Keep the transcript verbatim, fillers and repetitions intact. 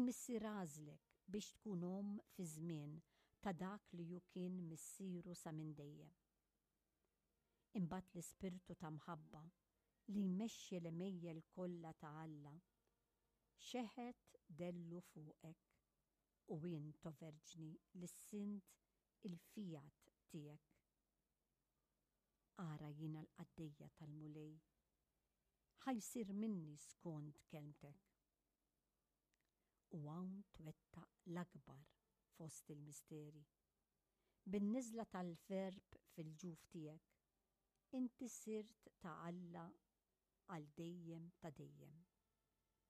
Il-Missier għażlek biex tkun omm fi żmien ta' dak li hu kien missieru sa minn dejjem. Imbagħad l-Ispirtu ta' mħabba li jmexxi l-għemejjel kollha ta' Alla xeħet dellu fuqek u int, o Verġni, lissint il-fiat tiegħek. Ara, jiena l-qaddejja tal-Mulej, ħa jsir minni skont kelmtek. U hawn twettaq l-akbar fost il-misteri. Bin-niżla tal-Verb fil-ġuf tiegħek, inti sirt ta' Alla għal dejjem ta' dejjem.